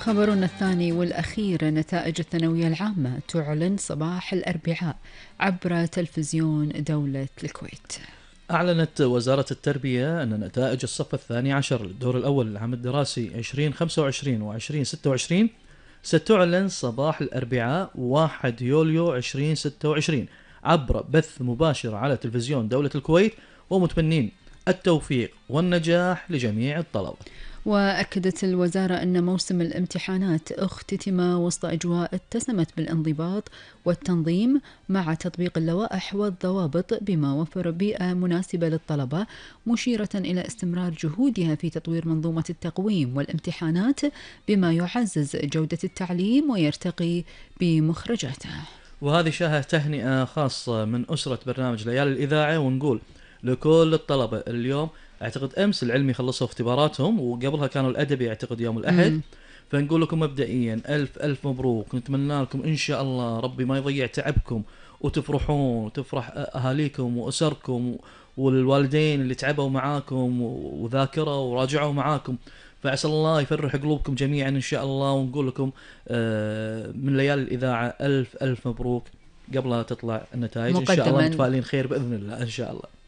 خبرنا الثاني والأخير: نتائج الثانوية العامة تعلن صباح الأربعاء عبر تلفزيون دولة الكويت. أعلنت وزارة التربية أن نتائج الصف الثاني عشر للدور الأول للعام الدراسي 2025 و 2026 ستعلن صباح الأربعاء 1 يوليو 2026 عبر بث مباشر على تلفزيون دولة الكويت، ومتمنين التوفيق والنجاح لجميع الطلبة. وأكدت الوزارة أن موسم الامتحانات اختتم وسط أجواء اتسمت بالانضباط والتنظيم مع تطبيق اللوائح والضوابط بما وفر بيئة مناسبة للطلبة، مشيرة إلى استمرار جهودها في تطوير منظومة التقويم والامتحانات بما يعزز جودة التعليم ويرتقي بمخرجاته. وهذه شاهد تهنئة خاصة من أسرة برنامج ليالي الإذاعة، ونقول لكل الطلبة اليوم اعتقد امس العلمي خلصوا اختباراتهم، وقبلها كانوا الادبي اعتقد يوم الاحد. فنقول لكم مبدئيا الف الف مبروك، نتمنى لكم ان شاء الله ربي ما يضيع تعبكم وتفرحون وتفرح اهاليكم واسركم والوالدين اللي تعبوا معاكم وذاكروا وراجعوا معاكم، فعسى الله يفرح قلوبكم جميعا ان شاء الله. ونقول لكم من ليالي الاذاعه الف الف مبروك قبلها تطلع النتائج ان شاء الله، متفائلين خير باذن الله ان شاء الله.